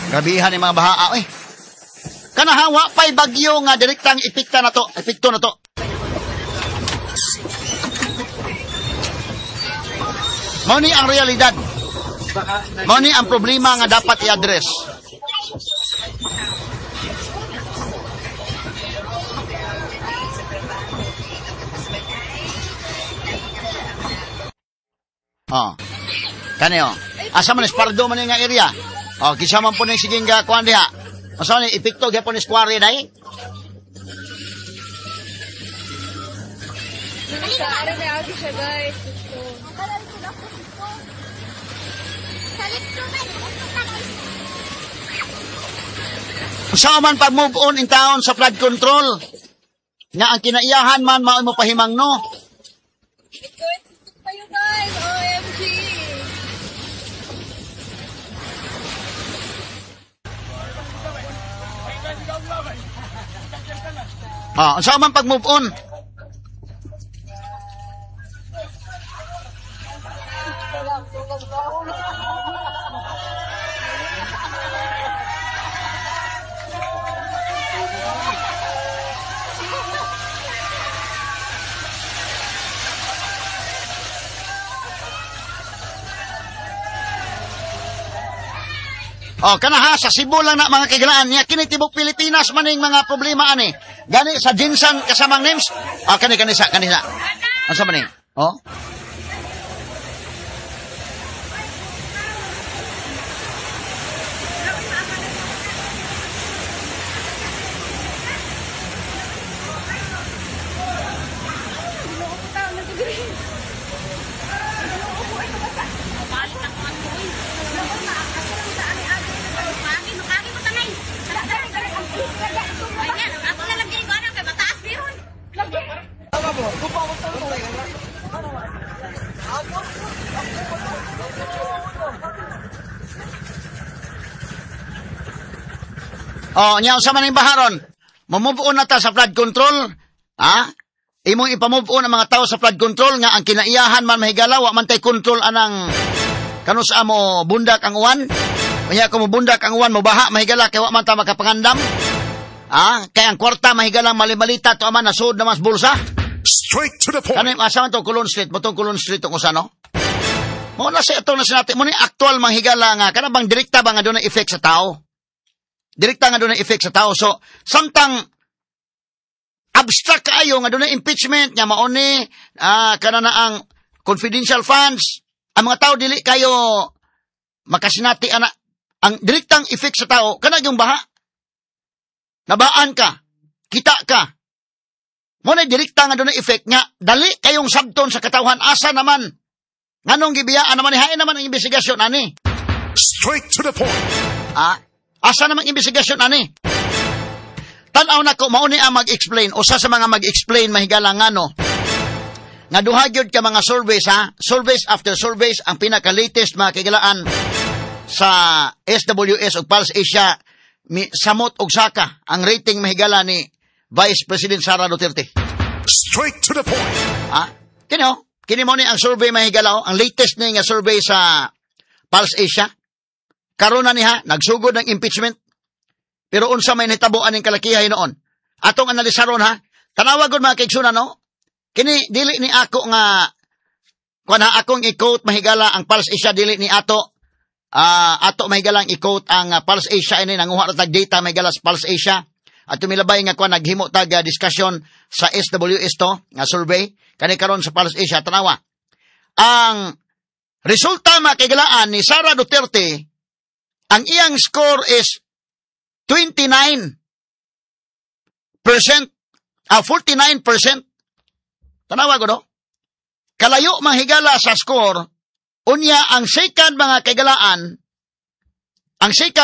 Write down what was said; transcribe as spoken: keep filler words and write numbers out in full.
Grabihan ni mga baha eh. Kanahawa pa'y bagyo nga direktang epekta na to, epekto na to. Mao ni ang realidad. Mao ni ang problema nga dapat i-address. Oh. Kani oh. Asa man Espardo man nga area? Oh, kinsa man po ning sige nga kuan diha. Asa ni epekto gyapon ni square dai? Siya, guys. Sa man pag move on in town sa flood control nga ang kinaiyahan man mao mo pahimang no. Kayo guys, O M G. Ah, unsa man pag move on? Oh, kana ha, sa Cebu lang na mga kaigalaan niya, kini tibok Pilipinas maning mga problema ani. Gani sa Jinsan kasamang names. Ah, kani kani sa kani sa. Unsa man ni? Oh. Oh, nya unsa man ning baharon? Mo-move on na ta sa flood control. Ha? Imong ipa-move on ang mga tao sa flood control nga ang kinaiyahan man mahigala, wa man tay control anang kanus amo bundak ang uwan. Unya kung mobundak ang uwan mobaha mahigala kay wa man ta makapangandam. Ha? Kay ang kwarta mahigala malimalita to aman nasud na mas bulsa. Straight to the point. Kani asa man to Colon Street, motong Colon Street tong usa no? Mo na sa ato na sinati mo ni aktual manghigala nga kana bang direkta ba nga dunay effect sa tao? Direkta nga dunay effect sa tao. So, samtang abstract kaayo nga dunay impeachment nga mao ni ah, kana na ang confidential funds, ang mga tao dili kayo makasinati ana ang direktang effect sa tao kana yung baha. Nabaan ka, kita ka. Mo na direkta nga dunay effect nga dali kayong sabton sa katawhan asa naman. Nganong gibiyaan naman ni hain naman ang investigasyon ani. Straight to the point. Ah, asa namang investigasyon ani? Tan-aw nako mao ni ang mag-explain usa sa mga mag-explain mahigala ngano. Nga duha gyud ka mga surveys ha, surveys after surveys ang pinaka-latest mga kahigalaan sa S W S ug Pulse Asia mi samot og saka ang rating mahigala ni Vice President Sara Duterte. Straight to the point. Ha? Kini oh, kini mo ni ang survey mahigala oh, ang latest ni nga survey sa Pulse Asia. Karon na niya, nagsugod ng impeachment. Pero unsa may nitabo aning kalakihay noon. Atong analisaron ha, tanawa gud mga kaigsunan no. Kini dili ni ako nga kuan ha, akong i-quote mahigala ang Pulse Asia dili ni ato. Ah, ato mahigala ang i-quote ang, uh, Pulse Asia ini nanguha ra tag data mahigala sa Pulse Asia. At tumilabay nga kuan naghimo tag, uh, discussion sa S W S to nga survey kani karon sa Pulse Asia tanawa. Ang resulta mga kaigalaan ni Sara Duterte, ang iyang score is twenty-nine percent, ah, forty-nine percent. Tanawa ko, no? Kalayo manghigala sa score, unya ang second mga kaigalaan, ang second